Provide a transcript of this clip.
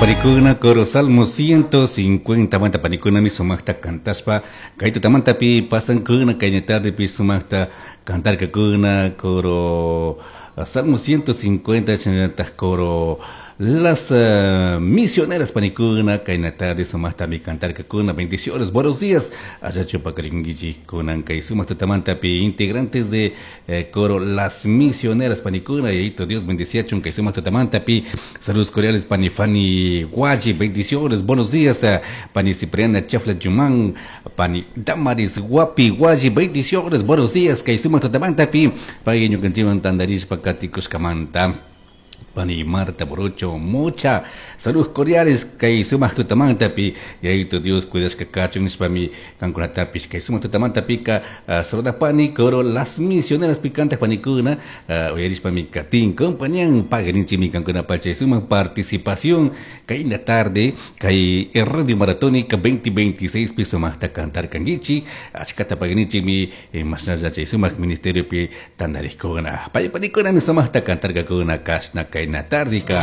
Panikuna coro Salmo 150 manta panikunami sumaqta cantashpa kay tutamantapi pasankuna kay tardepi sumaqta cantarkakuna coro Salmo 150 chaynallataq coro Las misioneras panikuna kayna tarde sumaqtami cantarkakuna. Bendiciones, buenos días. Allachu paqarinkichik kunan kay sumaq tutamantapi integrantes de coro Las Misioneras panikuna, Yayito Dios bendiciachun kay sumaq tutamantapi. Saludos cordiales pani Fanny Guachi, bendiciones, buenos días. Pani Cipriana Chafla Yumán, pani Damaris Guapi Guachi, bendiciones, buenos días. Kay sumaq tutamantapi pay ñukanchikwan tantarishpa katikushkamanta. Pani Marta Borocho, mucha saludos cordiales kay sumaq tutamantapi Yayito Dios cuidashka kachun nishpami kankunatapish kay sumaq tutamantapika saludapani coro Las Misioneras picantas panikuna uyarishpami katin compañían pagarinchimi kankunapa chay sumaq participación kay la tarde kay Radio Maratónica 2026 pi sumaqta cantar kankichi achkata pagarinchimi mashnalla chay sumaq ministeriopi tantarikuna pay panikunami sumaqta cantarkakuna kashna kayna tardika.